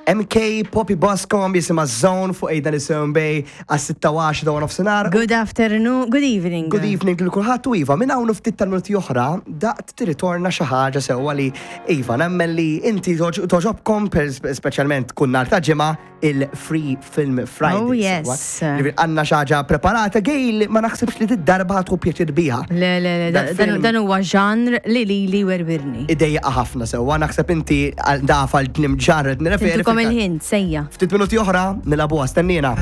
MK Poppy Boscombe jisimha Zone fuq Aidan Isum Bay għas-6 u 10 ta' nofsinhar. Good afternoon, good evening. Good evening lil kulħadd u iva, minn hawn u ftit tal-minuti oħra daqt tirritorna xi ħaġa sewwa li iva nemmen li inti toġobkom speċjalment kull nhar ta' ġimgħa il-Free Film Friday. Oh yes. Għandna xi ħaġa preparata Gail ma naħsibx li did-darba ħa tieħu pjaċir biha. Le, le, le, dan huwa ġanr li lili werwirni. Idejjaqa ħafna sewwa, naħseb inti daf għal tlim ġanr qed nirreferi. Intukom il-ħin, sejja. Ftit minuti oħra nilagħbuha, stennina.